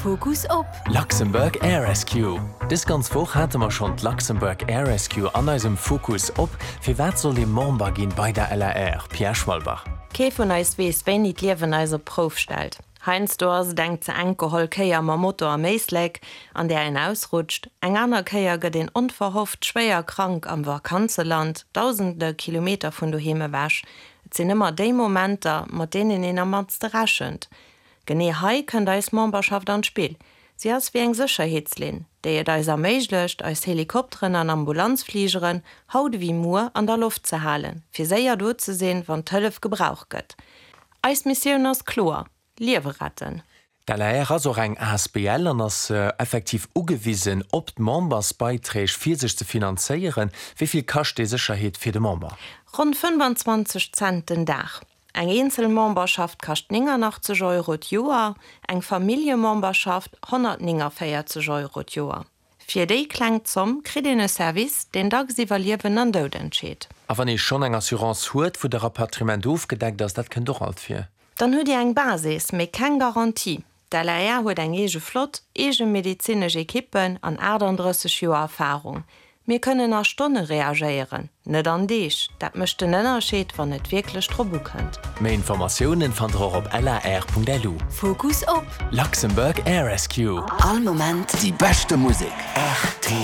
Fokus op. Luxembourg Air Rescue. Dës ganz Woch hate mer schonn d'Luxembourg Air Rescue an eisem Fokus op. Firwat sollt ee Member ginn bei der LAR? Pierre Schwalbach. Kee vun eis weess, wéini d'Liewen eis op d'Prouf stellt. Heiansdo ass et eng ze enk geholl Kéier mam Moto am Éislek, an där een ausrutscht. Eng aner Kéier gëtt een onverhofft schwéier krank am Vakanzeland, dausende Kilometer vun doheem ewech. Et sinn ëmmer déi Momenter, mat deenen een am mannste rechent. Genee hei kënnt eis Memberschaft an d'Spill. Si ass wéi eng Sécherheetslinn, déi et eis erméiglecht, eis Helikopteren an Ambulanzfligeren haut ewéi muer an der Loft ze halen, fir séier do ze sinn, wann d'Hëllef gebraucht gëtt. Eis Missioun ass kloer, Liewe retten! D'LAR ass och eng asbl an ass effektiv ugewisen op d'Membersbeiträg fir sech ze finanzéieren. Wéi vill kascht déi Sécherheet fir de Member? Ronn 25 Cent den Dag. Eng eenzel Memberschaft kascht 89 Euro d'Joer, eng Familljememberschaft 149 Euro d'Joer. Fir déi kleng Zomm kritt een e Service, deen dacks iwwer Liewen an Doud entscheet. A wann ee schonn eng Assurance huet, wou de Rapatriement ofgedeckt ass, dat kënnt och alt vir. Dann hutt Dir eng Basis, mee keng Garantie. D'LAR huet eng eege Flott, eege medezinesch Ekippen an 38 Joer Erfarung. Mir kënnen a Stonne reagéieren, net an Deeg. Dat mécht den Ënnerscheed, wann et wierklech drop ukënnt. Méi Informatiounen fannt der och op lar.lu. Fokus op. Luxembourg Air Rescue. All Moment. Déi beschte Musek. Rtl.